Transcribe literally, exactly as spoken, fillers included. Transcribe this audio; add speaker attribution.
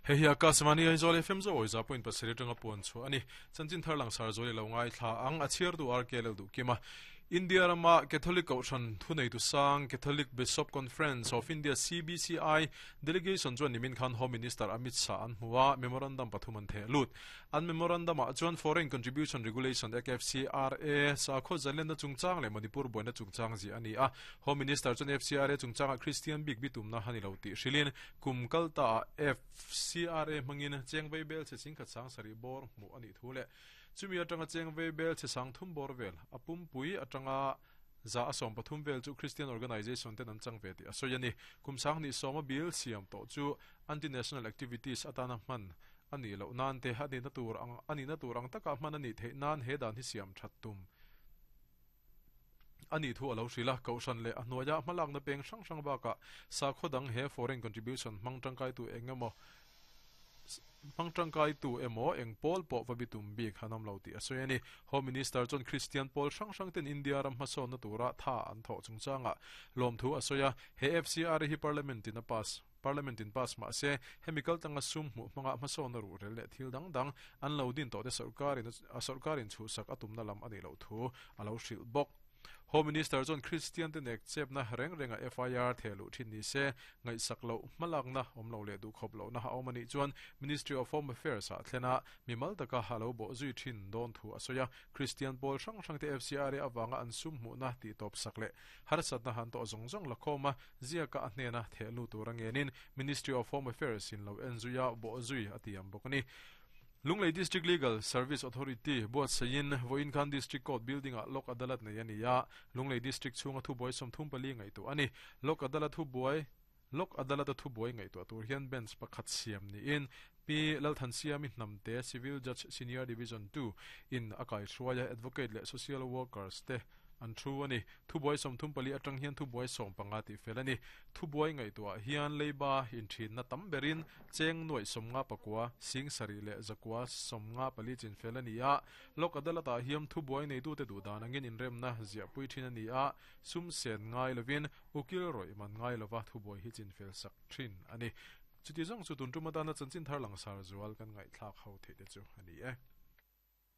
Speaker 1: He hi Akashvani Aizawl F M zo za point pasarih atanga puan chu ani. Chanchin thar lang sar zoli lo ngai thla ang, a chhiar tu R K L du kima. India rama Catholic Kohhran thunei tu sang, Catholic Bishop Conference of India, C B C I delegation chuan nimin khan Home Minister Amit Shah an hmuwa, memorandum pathum an the lut. An memorandum a chuan Foreign Contribution Regulation Act, F C R A, sakhaw zalenna chungchang le Manipur boina chungchang ji ani a. Home Minister chuan F C R A chungchanga Christian bik bitumna hani lo ti hrilin, kum kalta F C R A mangin chengvei bel che sing khat sang sari bor mu ani thu le chumi atanga chengvei bel che sang thum bor vel apum pui atanga za asom pathum vel chu Christian organization te an chang ve ti asoyani. Kum sang ni soma bill siam to chu anti national activities atana man ani lo nan te ani na tur ang ani na tur ang taka man ani the nan he dan hi siam that tum ani thu alo hrila. Kohhran le ahnuaya hmalak na peng hrang hrang baka sakhaw dang he foreign contribution hmang tangkai tu engemaw hmang tangkai tu emaw eng pawl pawh va bitum bik hanam lo ti a sawi ani. Home Minister chuan Christian pawl hrang hrang ten India ram hmasawn na tura tha an thawh chungchanga lawm thu a sawi a. He F C R hi parliament in a pass parliament in pass ma se hemical tanga sum hmu hmanga hmasawn na ru rel leh thil dang dang an lo din tawh te sarkarin a sarkarin chu sak atum na lam ani lo thu alo hrilh bawk. Home Minister chuan Christian te nek chep na reng renga F I R thelu thin ni se ngai sak lo hmalak na om lo le du khop lo na ha omani chuan Ministry of Home Affairs a thlena mimal taka halo bo zui thin don thu asoya. Christian pawl hrang hrang te F C R awanga an sum hmu na ti top sak le harsat na han to zong zong lakhoma zia ka hnena thelu turangenin Ministry of Home Affairs in lo enzuya bo zui atiam bokani. Lunglei District Legal Service Authority buat sayin voin khan District Court Building a Lok Adalat nei ani ya. Lunglei District chunga thu boi som thum pali ngai tu ani. Lok Adalat thu boi Lok Adalat thu boi ngai tu tur hian bench pakhat siam ni in Pi Lalthan Siami Hnamte, Civil Judge Senior Division two in akai thruaya, advocate le social workers te an thu ani. Thu boi som thum pali atang hian thu boi som panga ti fel ani. Thu boi ngai tu hian leiba in thin na tam berin cheng noi som nga pakwa sing sari le zakwa som nga pali chin fel ani a. Lok Adalata hiam thu boi nei tu te du dan angin in rem na zia pui thin ani a. Sum sen ngai lovin, ukil roi man ngai lova thu boi hi chin fel sak thin ani. Chuti zong chu tun tuma na chanchin thar lang sar zual kan ngai thlak ho the te chu ani e.